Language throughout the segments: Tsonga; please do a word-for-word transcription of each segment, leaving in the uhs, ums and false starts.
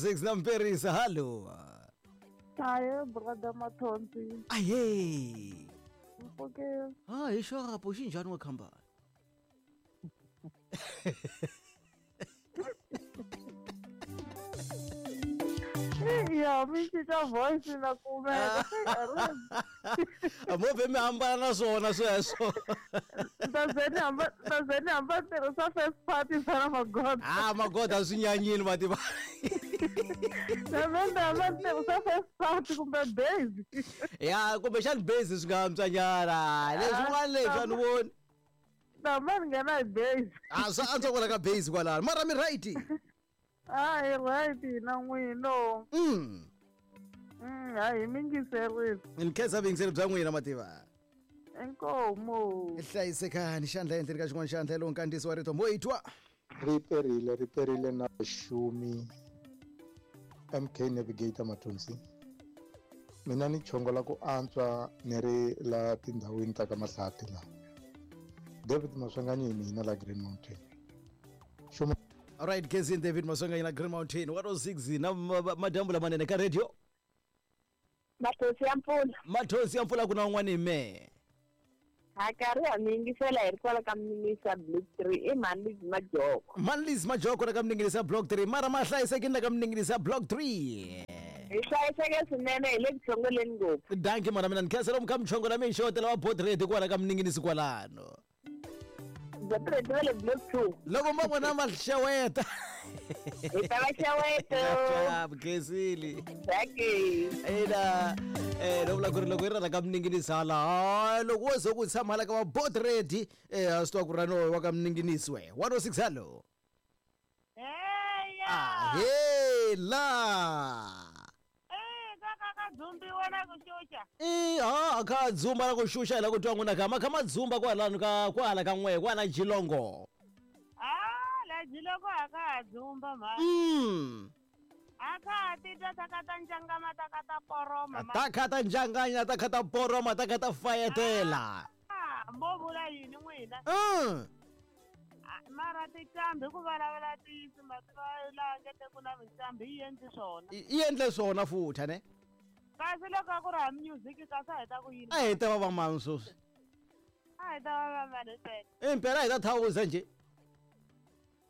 six na Mperisa hello. Aye brother Mathonsi. Aye. Okay. Ah, hi xapo xinjhani wa khambani? Ya mi cinca voice na kumeka. A mo ve mi hambana na swona sweswo. Ta ze ni hamba ta ze ni hamba tirhisa first party fana magoda. Ah, magoda swi nyanyini va tiva. Na mina hamba tirhisa first party kumbe base. Ya kumbexani base swi nga antswa nyana. Leswin'wana leswi a ni voni. Na mina ni nghena hi base. Ah, swa antswa kwala ka base kwalano. Mara mi right. Ah, hi right na n'wino. Mm. Mm, hayi mi yingiserile. Ni khensa vuyingiseri bya n'wina mativa. Inkomo. Hlayisekani xandla ehenhleni ka xin'wana xandla lowu nkandziyiso wa rito mo yi twa. Ri perile ri perile na xumi M K Navigator Mathonsi. Mina ni chongola ku antswa ni ri la tindhawini ta ka Mahlati la. David Maswanganyi mina la Green Mountain. Xuma. All right, Kezin David Maswanganyi la Green Mountain one oh six na madyambu lamanene ka radio. Mathonsi ya mpfula. Mathonsi ya mpfula ku na un'wana hi mehe. Ha karhi ha mi yingisela hi ri kwala ka Mninginisa Block three i Manliz Majoko. Manliz Majoko la ka Mninginisa Block three mara ma hlayisekini la ka Mninginisa Block three. Hi hlayiseke swinene hi le ku chongoleni ngopfu. Dankie mana mina ni khensela mu kha mi chongola mi xotela wa board ready kwala ka Mninginisi kwalano. Board ready va le Block two. Loko ma vona ma xeweta. Hi ta va xeweta. Khensile. Dankie. Ina eh lo vula ku ri loko yi ri la ka Mninginisi hala hayi loko wo ze ku tshama hala ka va board ready eh a swi tiva ku ri no wa ka Mninginisi we one oh six hello. Heya. Ah hela. Eh ka ka ka dzumbiwa na ku xuxa. Eh ha kha dzumba na ku xuxa hi la ku twa n'wina ka ma kha ma dzumba kwalano ka kwala ka n'we kwala Jilongo. Ah la Jilongo a ka ha dzumba mhani. Mm. A kha ha titwa ta ka ta njangama ta ka ta poroma. Ta kha ta njanganya ta kha ta poroma ta kha ta fayetela. Ah mo vula yini n'wina? Mm. Mara tinqambi ku vulavula ntiyiso mativa laha nge te ku na minqambi yi endli swona. Yi endle swona futhi ne? Kasi loko a ku ri ha music kasi a hi ta ku yini? A hi ta va va mani sweswi? A hi ta va va mani sweswi? Impela a hi ta thawuza njhe?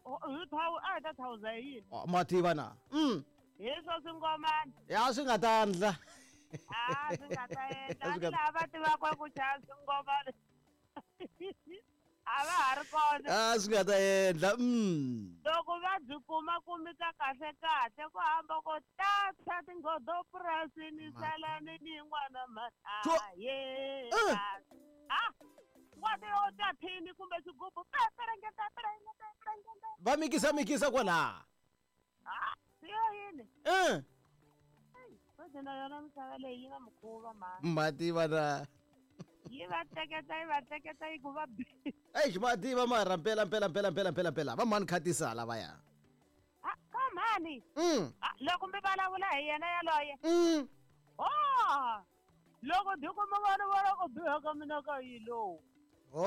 Hi thawu a hi ta thawuza hi yini? Mativa na. Mm. Hi swo swingomani. Ya swi nga ta endla. Ah swi nga ta endla. Ni lava va tivaka ku chaya swingomani. A va ha ri kona. Ah swi nga ta endla. Mm. Loko va byi kuma kumika kahle kahle ku hamba ko tata tinghodo purasini salani ni n'wana mhani. Ah ye. Ah wa ti yo ta thini kumbe xigubu perengeta perengeta perengeta. Va mikisa mikisa kwala. Ah siyo yini? Eh. Futhi na yona misava leyi yi na mukhuva mhani. Mativa na. Yi va teketa yi va teketa yi ku va bi. Eish mativa mara mpela mpela mpela mpela mpela mpela va mhani khatisa lavaya. Ah ka mhani. Mm. Ah loko mi vulavula hi yena yaloye. Mm. Oh. Loko diko mi vona vona ku biha ka mina ka yi lowu. Oh.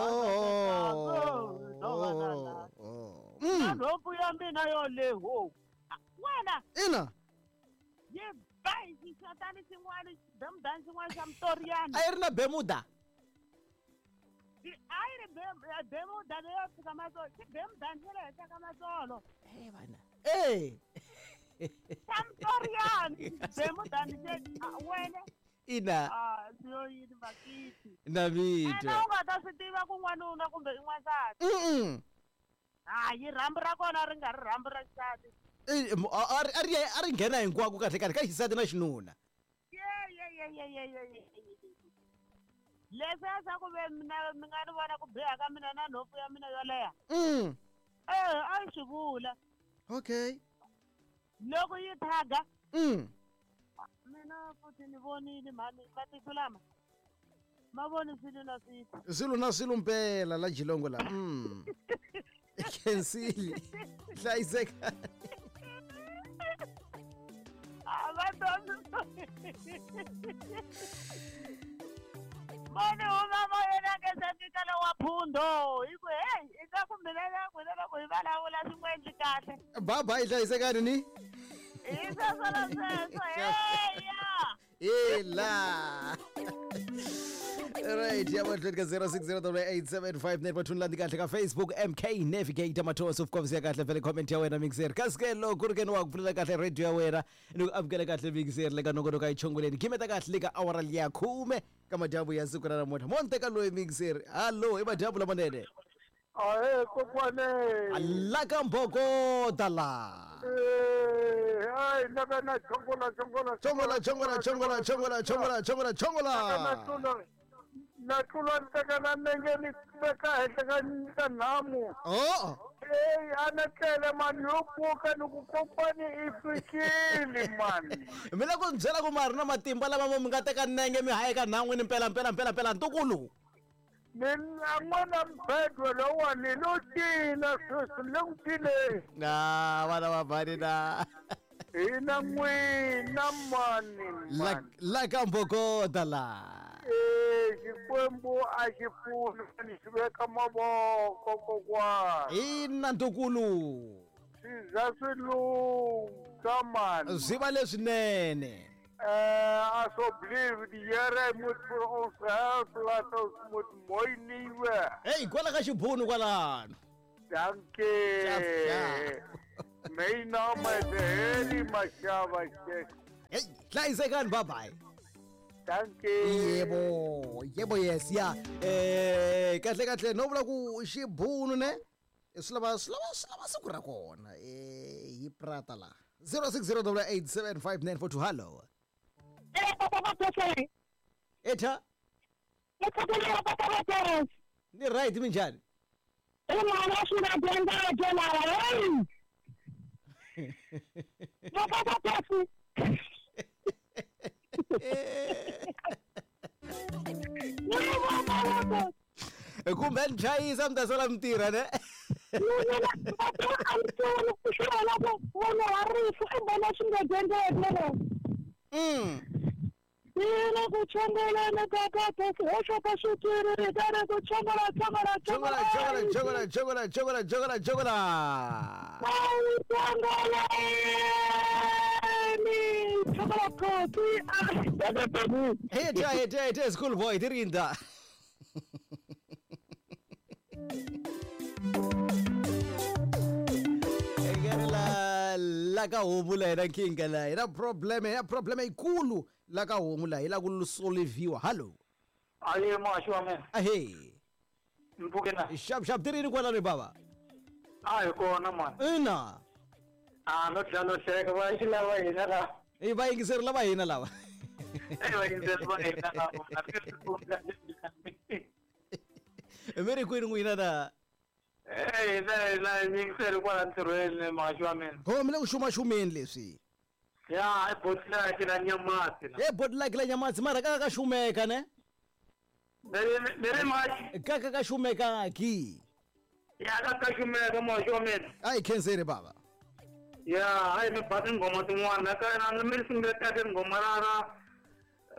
Oh. Oh. Na nhompfu ya mina yoleho. Wena. Ina. Yi ba hi xixatani xin'wana xibemudani xin'wana xa Mtoriyana. A yi ri na bemuda. A yi ri bemuda leyo fika matsolo xibemudani xa le henhla ka matsolo. Eh vana. Eh. Xa Mtoriyana xibemudani xe wena. Ina. Ah siyo yini bakiti. Na vitwa. Ena u nga ta swi tiva ku n'wanuna kumbe i n'wansati. Mm. Hayi rhambu ra kona ri nga ri rhambu ra xisati. A ri a ri nghena hinkwako kahle kahle ka xisati na xinuna. Ye ye ye ye ye ye. Leswiya swa ku ve mina mi nga ni vona ku biha ka mina na nhompfu ya mina yo leha. Mm. Eh a yi swi vula. Okay. Loko yi thaga. Mm. Mina futhi ni vonile mhani matihlo lama. Ma voni swilo na swilo. Swilo na swilo mpela la Jilongo la. Mm. Khensile. Hlayiseka. A va twa. Mani huma moyeni a nge se fika lowa Phundo hi ku hey i ta ku mina na n'wina loko hi vulavula swi n'wi endli kahle. Bye bye hlayisekani ni. I sweswo na sweswo heya Ela. Right, ya mahlweni ka zero six zero eight seven five nine mathuni landi kahle ka Facebook M K Navigator Mathosi of course ya kahle vele comment ya wena mixer. Kasi ke loko ku ri ke ni wa ku pfulela kahle radio ya wena ni ku amukela kahle mixer le ka nongonoko a yi chongoleni. Gimeta kahle le ka awara liya khume ka madyambu ya siku ra namuntlha. Mo ni teka loyi mixer. Hallo, i madyambu lamanene. Ahe kokwane. La ka mbokota la. Eh, ai na na chongola chongola chongola chongola chongola chongola chongola chongola chongola. Na tlula teka na nenge ni veka henhla ka ka nhamu. Oh. Eh, a na tlele mani yo pfuka ni ku kompani i fikile mani. Mina ku byela ku mari na matimba lama mo mi nga teka nenge mi hayeka nhan'wini mpela mpela mpela mpela ntukulu. Mina n'wana mbedwa lowani lo cina sweswi le ku cineni. Na vana va bani na. Hina n'wina mani La mani. la ka mbokota la. Eh, Xikwembu a xi pfuni mani xi veka mavoko kokwana. Ina ntukulu. Swi za swi lungha mani. Swi va leswinene. Eh, asseblief, die Here moet vir ons help, laat ons moet mooi lewe. Hey, kwala ka xibunu kwalano. Dankie. Sharp, sharp. My naam is Harry Mashaba. Hey, hlayisekani, bye bye. Dankie. Yebo, yebo yes ya. Eh, kahle kahle no vula ku xibunu ne. Swi lava swi lava swi lava siku ra kona. Eh, hi prata la. zero six zero eight seven five nine four two hello. Etha. Ni right minjhani? Kumbe ni chayisa mi ta sala mi tirha ne? Mm. Chongola chongola chongola chongola chongola chongola chongola. Hey, hey, hey, hey, school boy, tirinda. La la ka homu la yena nkingha la yena problem ya problem yikulu la ka homu la yi la ku solviwa. Hello. Aye maxi wa mina. Ahe. Mpfuke na. Xap xap tirini kwalano baba. A hi kona mani. Ina. A no dlalo hleka va xi lava hina la. I va yingiseri lava hina lava. Eh va yingiseri va hina lava. Mi ri kwini n'wina na? Eh, na na yingiseri kwala ntirhweni maxi wa mina. Ho mi le ku xumaxumeni leswi. Ya, i botlaki la Nyamatsi la. E botlaki la Nyamatsi mara ka ka xumeka ne? Ni ri maxi. Ka ka ka xumeka ki. Ya ka ka xumeka maxi wa mina. A hi khenseni baba. Ya, a hi mi ba tinghoma tin'wana ka na mi sungule kahle tinghoma ra ra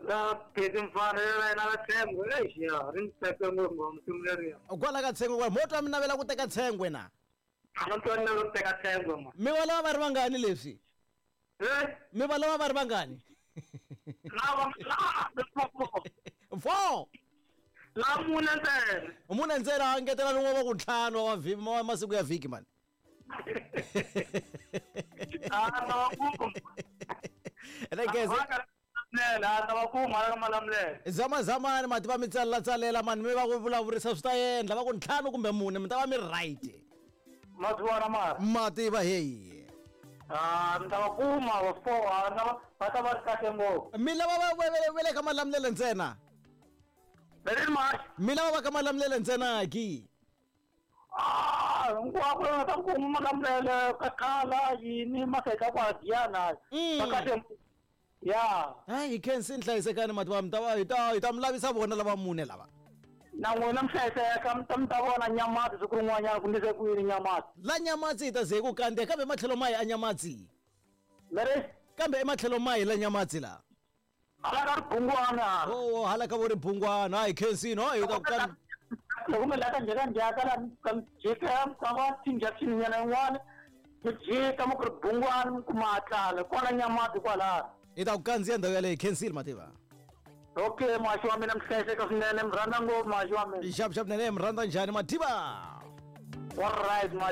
la Pheti Mfana ra yena ra Tshengwe. Eish ya, ri ni tsake ngopfu nghoma simu leriya. Kwala ka Tshengwe kwala mo twa mi navela ku teka Tshengwe na? A no twa ni navela ku teka Tshengwe ma. Mi va lava va ri vangani leswi? Eh? Mi va lava va ri vangani? Lava la Four. La mune ntsena. Mune ntsena a ngetela rin'we wa ku ntlhanu wa vhiki wa masiku ya vhiki mani. A ta va kuma. Rekeze. Lela ta va kuma la Malamulele. Zama zamani mati va mi tsalela tsalela mani mi va ku vulavurisa swi ta endla va ku ntlhanu kumbe mune mi ta va mi right. Mati mara. Mati va hey. Ah, mi ta va kuma va four a ta va va ta va ri kahle ngopfu. Mi lava va va le ka Malamulele ntsena. Veri maxi. Mi lava va ka Malamulele ntsena ki. Ah, hinkwako va ta kuma Malamulele ka khala yini maseka kwa Giyana. Va kahle. Ya. Hayi hi khensini hlayisekani mati va mi ta va hi ta hi ta mi lavisa vona lava mune lava. Na n'wina mi hlayiseka mi ta mi ta vona Nyamatsi siku rin'wanyana ku ndlise ku yini Nyamatsi. La Nyamatsi hi ta ze hi ku kandziya kambe ematlhelo mahi a Nyamatsi. Meri? Kambe ematlhelo mahi la Nyamatsi la. Hala ka ribungwana. Oh, hala ka vo ribungwana. Hayi khensini, hayi hi ta ku kan. Loko mi la ka njhaka njhaka la ka jika ka va tinjection nyana yin'wana. Mi jika mi ku ri bungwani mi kuma hatlala kwala nyamati kwalano. Hi ta ku kandziya ndhawu yaleyo khensile mativa. Okay muhaxi wa mina mi hlayiseka swinene mi rhandza ngopfu muhaxi wa mina. Xap xap nene mi rhandza njhani mativa. All right muhaxi.